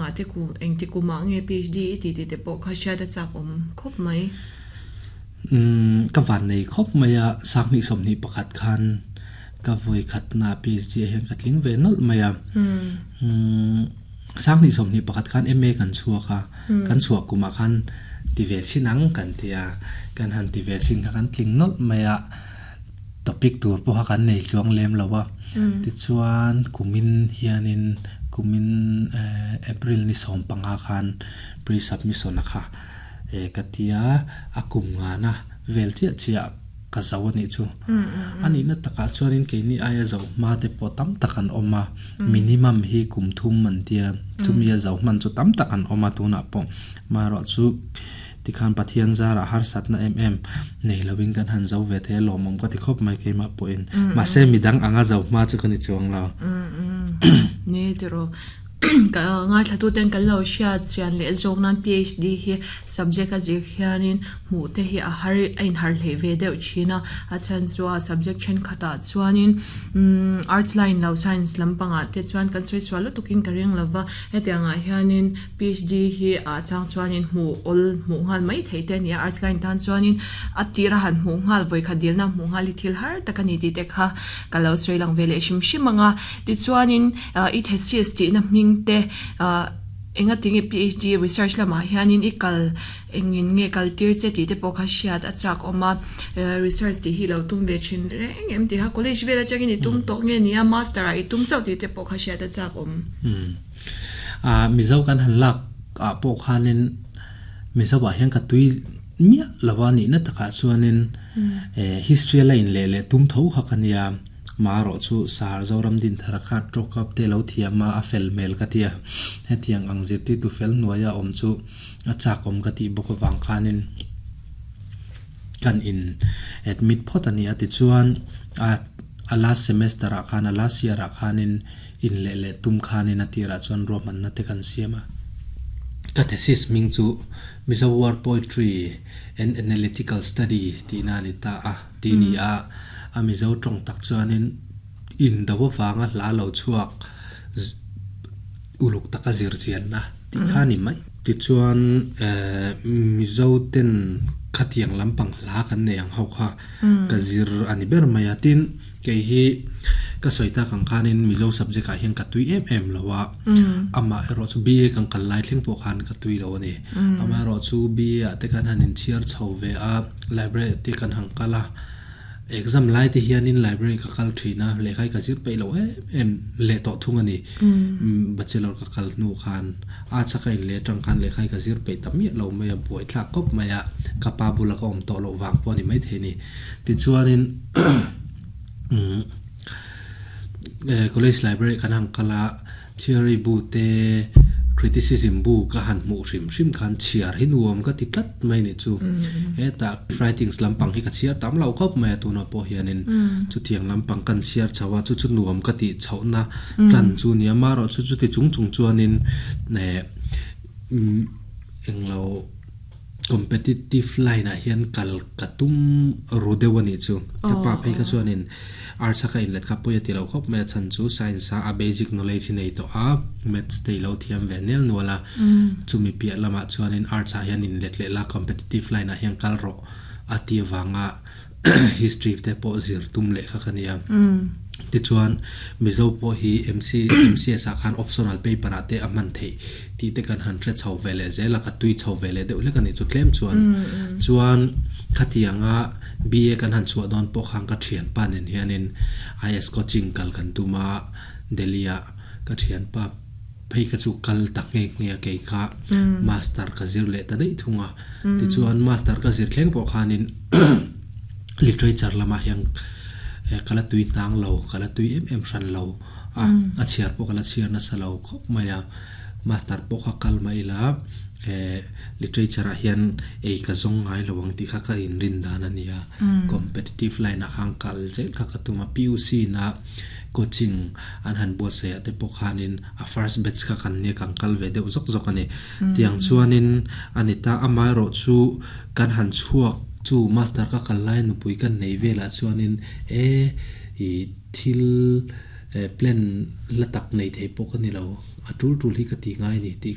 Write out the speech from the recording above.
lamah te kum engti kumah nge PhD i tih tih te pawh kha hriat a chak awm khawp mai. Ka van nei khawp mai a, Sanghnih 21 khan ka vawi khatna PhD ah hian ka tling ve nawlh mai a. Sanghnih 21 khan MA kan chhuak a, kan chhuah kumah khan ti ve chhin ang kan ti a, kan han ti ve chhin kha kan tling nawlh mai a, topic tur pawh kha kan nei chuang lem lo a. Tichuan kumin hianin kumin April ni 15 khan pre-submission a kha ka tia a kum ngana vel chiah chiah ka zo a nih chu. A nihna takah chuanin keini aia zo hma te pawh tam tak an awm a, minimum hi kum thum an tia, chumi a zo hman chu tam tak an awm a tunah pawh. Marawh chu tikhan Pathian zarah harsatna em em nei lovin kan han zo ve thei a lawmawm ka ti khawp mai keimah pawhin. Mahse midang anga zo hma chu ka ni chuang lo. Ni tiraw. Ka ngaithlatuten kan lo hriat chian leh zawk nan PhD hi subject a zir hianin hmuh te hi a har a inhar hlei ve deuh thin a, a chhan chu a subject thenkhatah chuanin umm arts line lo science lampangah te chuan kan sawi sual lutukin ka ring lova, hetiangah hianin PhD hi ah chang chuanin hmuh awl hmuh nghal mai theih te a ni a, arts line tan chuanin a tir a han hmuh nghal vawikhat dilna hmuh nghal hi thil har tak a ni tih te kha ka lo sawi lang ve leh hrim hrim ang a. Tichuanin i thesis tihna hming te enga tinge PhD research lamah hianin i kal engin nge kal tir che tih te pawh kha hriat a chak awm a, research tih hi lo tum ve thin reng em tih kha college vel atangin i tum tawh nge nia master ah i tum chauh tih te pawh kha hriat a chak awm. Mizo kan han lak ah pawh khanin Mizo ah hian ka tui miah lo a nihna takah chuanin history a la in leh leh tum tho kha ka nia. Marawh chu Sar Zoram Dinthara kha truck up te lo thiam a, a fel hmel ka ti a. Hetiang ang zirtirtu fel hnuaia awm chu a chak awm ka tih bawk avang khanin kan in admit phawt a ni a. Tichuan a a last semester ah khan a last year ah khanin in leh leh tum khanin a tirah chuan ruahmanna te kan siam a. Ka thesis hming chu Mizo War Poetry and Analytical Study tihna a ni ta a. Ti ni a, a Mizo tawng tak chuanin indo avanga hla lo chhuak uluk taka zir chianna tih kha a ni mai. Tichuan Mizo ten khatiang lampang hla kan nei ang ho kha ka zir a ni ber mai a. Tin, kei hi ka sawi tak ang khanin Mizo subject ah hian ka tui em em lo a, amah erawh chu BA kan kal lai thleng pawh khan ka tui lo a ni. Amah erawh chu BA ah te khan han inchhiar chho ve a. Library te kan han kal a, exam lai te hianin library ka kal thin a, lehkha hi ka zir peih loh em em leh tawh thung a ni. Bachelor ka kal hnu khan a chaka in leh atang khan lehkha hi ka zir peih ta miah lo mai a, buaithlak khawp mai a, ka pa bula ka awm tawh loh vang pawh a ni maithei a ni. Tichuanin college library kan han kal a. Theory bu te, criticism bu ka han hmuh hrim hrim khan chhiar hi nuam ka ti tlat mai nih chu. Hetah writings lampang hi ka chhiar tam lo khawp mai a tunah pawh hianin chutiang lampang kan chhiar chho a, chu chu nuam ka tih chhohna tan chu nia. Amaherawh chu chuti chung chung chuanin eh englo competitive line ah hian kal ka tum ru deuh a nih chu. Ka pa phei kha chuanin arts a ka inlet kha pawi a ti lo khawp mai a chhan chu science a a basic knowledge hi nei tawh a maths te i lo thiam ve nel nual a chumi piah lamah chuanin arts ah hian inlet leh la competitive line ah hian kal rawh a ti avanga history te pawh zir tum leh kha ka nia. Tichuan Mizo pawh hi MC MCS ah khan optional paper ah te a hman theih tih te kan han hre chho ve leh zel a, ka tui chho ve leh deuh hlek a nih chu tlem chuan. Chuan khatianga BA kan han chhuah dawn pawh khan ka thianpa nen hianin IS coaching kal kan tum a, Delhi ah ka thianpa phei kha chu kal ta nghe nghe a kei kha master ka zir leh ta daih thung a. Tichuan master ka zir thleng pawh khanin literature lamah hian ka la tui hnang lo, ka la tui em em hran lo a, a chhiar pawh ka la chhiar nasa lo khawp mai a. Master pawh kha kal mah ila literature ah hian ei ka zawng ngai lo ang tih kha ka inrin dan a ni a. Competitive line ah khan kal zel kha ka tum a, PUC na coaching an han buatsaih ah te pawh khanin a first batch kha kan nia kan kal ve deuh zawk zawk a ni. Tiang chuanin a ni ta, amaherawh chu kan han chhuak chu master ka kal lai nupui kan nei velah chuanin e i thil plan la tak nei thei pawh ka ni lo, a tul tul hi ka ti ngai a ni tih.